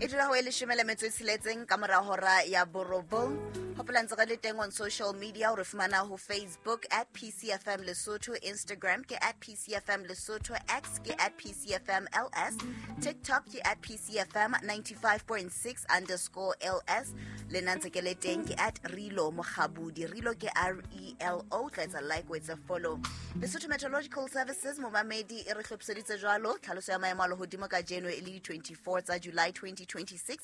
E dula ho e leshome le metso e tsheletseng ka mora hora ya borobong. Hopola ntse re le teng on social media, o re fumana ho Facebook at PCFM Lesotho, Instagram ke at PCFM Lesotho, X ke at PCFM LS, TikTok ke at PCFM 95.6 underscore LS. Le nna ntse ke le teng ke at Relo Mokgabudi, Relo ke R E L O, tla etsa like o etsa follow. Lesotho Meteorological Services momamedi e re hlophiseditse jwalo tlhaloso ya maemo a lehodimo kajeno e le di-24 tsa July 2026,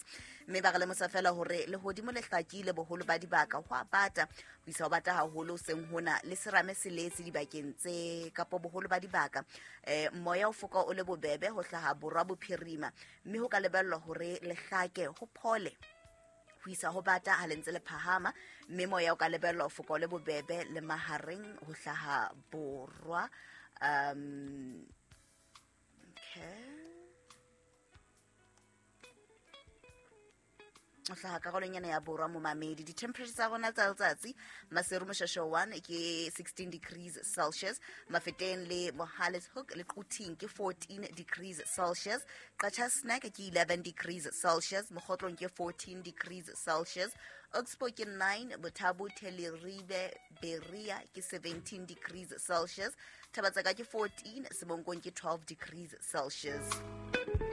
mme ba re lemosa fela hore lehodimo le hlakile boholo ba dibaka, ho a bata ho isa ho bata haholo seng hona le serame se letse dibakeng tse kapo boholo ba dibaka. Moya o foka o le bobebe ho hlaha borwa bophirima, mme ho ka lebellwa hore le hlake ho phole ho isa ho bata ha le ntse le phahama, mme moya o ka lebellwa ho foka o le bobebe le mahareng ho hlaha borwa. Okay, o hlaha karolong ena ya borwa momamedi. Di-temperature tsa rona tsa letsatsi: Maseru Moshasho 1 ke 16 degrees Celsius, Mafeteng le Mohale's Hoek le Quthing ke 14 degrees Celsius, Qacha's Nek ke 11 degrees Celsius, Mokhotlong ke 14 degrees Celsius, Oxbow ke 9, Bothabo Teleribe Berea ke 17 degrees Celsius, Thabatsaka ke 14, Semonkong ke 12 degrees Celsius.